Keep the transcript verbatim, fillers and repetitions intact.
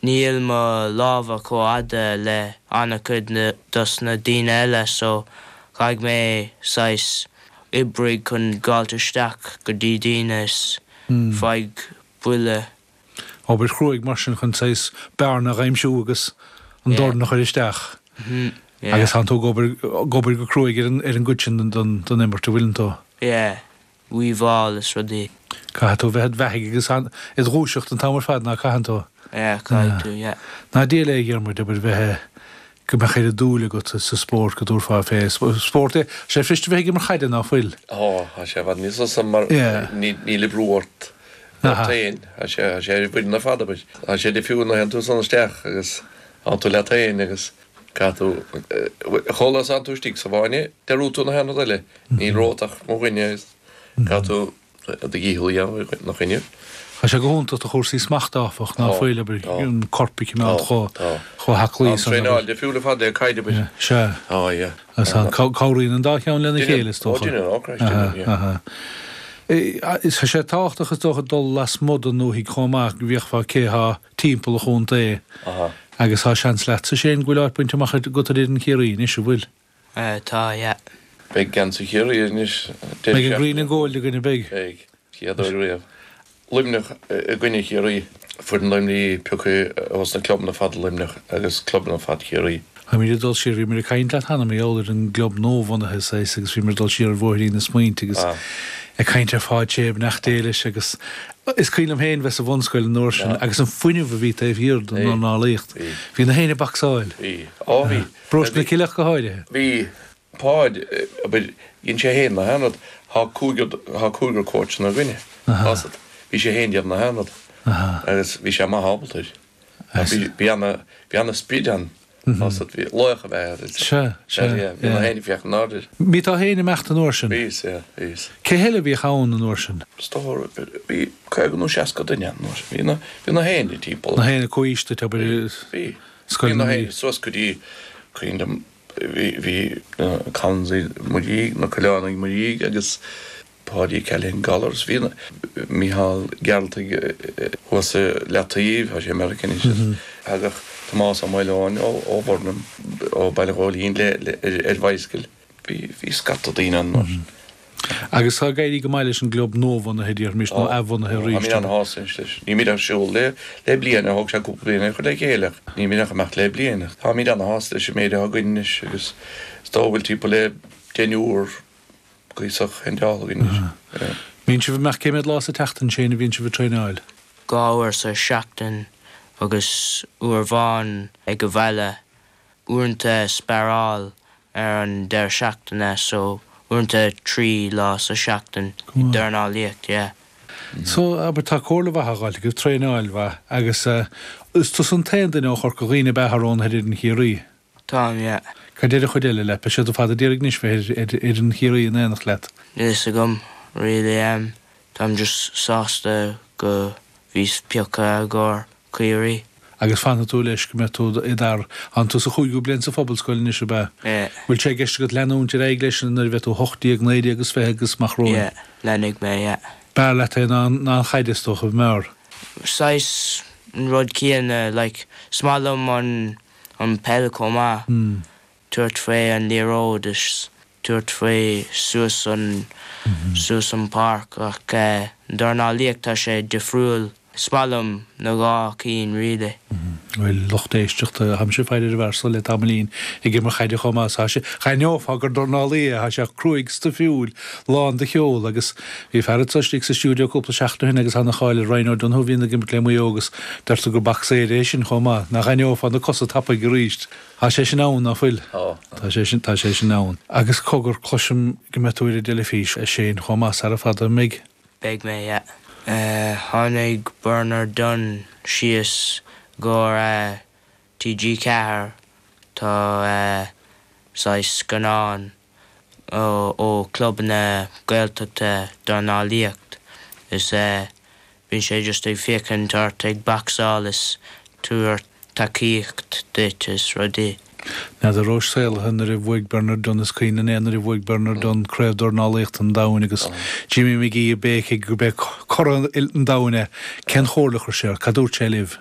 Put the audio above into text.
Níl mo lámha chomh fada le an-chuid dos na daoine eile so caithfidh mé saghas oibrigh chun gabháilt isteach go dtí daoine is faigh buille. Obair chruaidh mar sin chun saghas bearna a aimsiú agus an dorn a chur isteach. Agus tánn tú ag obair ag obair go cruaidh ar an ar an gcuid sin den den imirt a bhfuileann tú. Yeah, weaveáil is rudaí. Caithfidh tú a bheith id bheathaidh agus id dhúiseacht an t-am ar fad ná caitheann tú? Yeah, caithfidh tú, yeah. Ná diail é a Dhiarmuid, abair bheith go mbeadh oiread dúil agat sa spórt go dtabharfá fé spórt é. Sé fuirist a bheith ag imirt chaide ná fuil? Tá, tá sé i bhfad níos fusa mar níl brú ort ort féin. Tá sé tá sé ar an bhfoireann ar fad abair. Tá sé difriúil nuair a théann tú san isteach agus tánn tú leat féin agus caithfidh tú chomh luath is atánn tú istigh sa bhfáinne dearúdann tú na haon rud eile. Níl romhat ach mo dhuine agus caithfidh tú do dhícheall a dhéanamh ina choinne. Tá sé go hiontach do chúrsaí smachta áfach, ná fuil, abair, an corp a choimeád chomh chomh haclaí san. Tá an traenáil difriúil ar fad le caid, abair. Sea. Tá, yeah. Agus cabhraíonn an dá cheann lena chéile, is dócha. Ó, deineann, ó, Christ, deineann, yeah. Aha. Tá sé tábhachtach, is dócha, dul lasmuigh den ndúthaigh chomh maith, go bhfeicfeá cé thá timpeall an chontae. Aha. Agus tá seans leatsa, Shane, go bhfuil áit bainte amach agat ar fhoireann Chiarraí anois, an bhfuil? Tá, yeah. Beidh geansaí Chiarraí anois. Beidh an green and gold againn, beidh? Beidh. Chéad uair riamh. Luimneach i gcoinne Chiarraí. Foireann Luimnigh pioctha ós na clubanna fada Luimneach agus clubanna fada Chiarraí. Táimid ag dul siar, bhíomar ag caint leat cheana mar gheall ar an gclub nuabhunaithe saghas agus bhíomar ag dul siar ar bhóithrín na smaointe agus ag caint ar Pháid Sé, beannacht Dé leis agus is cuimhin liom féin bheith sa bhunscoil an uair sin agus an fuinneamh a bhí taobh thiar den dornálaíocht. Bhí na héinne ag bacsáil. Bhí. Ó bhí. Paróiste na Cille ach go háirithe. Bhí. Páid, abair, dhein sé féin na haon rud, thá cúigear, thá cúigear cóitseanna againne, tá 's agat, bhí sé féin déanamh na haon rud agus bhí sé maith ábalta air. Bhí, bhí ana, bhí ana sprid ann, tá 's agat, bhí laoch ab ea é. Sea, sea, yeah, bhí na héinne ag féachaint in airde air. Bhí tú féin ag imeacht an uair sin? Bhíos, yeah, bhíos. Cé heile a bhíodh ann an uair sin? Is dócha, bhí caoga nó seasca duine ann an uair sin, bhí na, bhí na héinne timpeall. Na héinne comhaois duit, abair, Bhí, scoil bhí na na héinne suas go dtí, cuimhin liom, Bhí na Collinsaigh i mo dhiaidh, na Coileánaigh i mo dhiaidh agus Páidí Callahan Gollars. Bhí Mícheál Gearaltaigh thuas i Leataoibh, tá sé i Meiriceá anois. Thagadh Tomás Ó Maoileoin ó Bhurnham, ó Baile Ghóilín ar bhicycle. Bhí scata daoine ann mar sin. Agus tá ag éirí go maith leis an gclub nuabhunaithe, déarfaimis, nó athbhunaithe Tá, arís. táimid an-shásta anois leis. Nílimid ar siúl le le bliain, thóg sé cúpla bliain é a chur le chéile ach nílimid ach ag imeacht le bliain. Táimid an-shásta leis an méid atá againn anois agus is dóigh go bhfuil timpeall le deichniúr cuíosach handáilte againn anois. Bíonn sibh ag imeacht cé mhéad lá sa tseachtain, Shane, a bhíonn sibh ag traenáil? Dhá uair sa seachtain agus uair amháin ag an bhaile. Uaireanta sparáil ar an deireadh seachtaine so uaireanta trí lá sa seachtain Go maith. dornálaíocht, yeah. So, abair, tá comhairle mhaith á fháilt agaibh, traenáil mhaith agus eh, is tusa an t-aon duine ó Chorca Dhuibhne ab ea atá roghnaithe ar fhoireann Chiarraí? Táim, yeah. Cad deir an chuid eile leat? Beidh siad ar fad ag iarraidh anois bheith ar ar fhoireann Chiarraí in éineacht leat. Níl fhios agam, really, em, táim just sásta go bhíos pioctha i gcomhair Ciarraí. Agus fanfaidh tú leis go mbeidh tú i d'fhear. Tánn tú sa chúigiú bliain sa phobalscoil anois, ab ea? Yeah. Bhfuil sé i gceist agat leanúint ar aghaidh leis nuair a bheidh tú hocht déag, naoi déag agus fiche agus amach romhainn? Yeah, leanfaidh mé, yeah. B'fhearr leat é ná ná an chaid, is dócha, b'fhearr? Saghas an rud céanna, like, is maith liom an an peil chomh maith. Tabhairt faoi an liathróid is tabhairt faoi suas an suas an páirc ach dornálaíocht tá sé difriúil. Is maith liom na dhá cinn really. Bhuel, lucht éisteachta, táimse ag faire ar an bhfear so le tamaillín ag imirt chaide chomh maith. Tá sé, cha aithneofá gur dornálaí é, tá sé cruaidh stuifiúil, lán de cheol agus bhí fear anseo istigh sa stiúideo cúpla seachtain ó shin agus ana-cháil ar Ryan O'Donoghue a bhíonn ag imirt le Maigh Eo agus deirtear gur bocsaeir é sin chomh maith. Nach aithneofá na cosa tapaidh arís. Tá sé sin ann, ná fuil? Tá. Tá sé sin, tá sé sin ann. Agus cogar, cloisim go mbeidh tú ar an dteilifís, a Shane, chomh maith sara fada, an mbeidh? Beidh mé, yeah. Tháinig Bernard Dunne síos go TG Ceathair, tá saghas scannán ó clubanna Gaeltachta dornálaíocht is bíonn sé just ag féachaint ort ag bacsáil is tabhairt tacaíocht duit is rudaí. N'fheadar rabhais saolaithe nuair a bhuaigh Bernard Dunne, is cuimhin linn é nuair a bhuaigh Bernard Dunne Craobh Dornálaíochta an Domhain agus Jimmy McGee ag béicigh gurb é curaidh an domhain é. Cén chomhairle a chuir sé ort? Cad dúirt sé libh?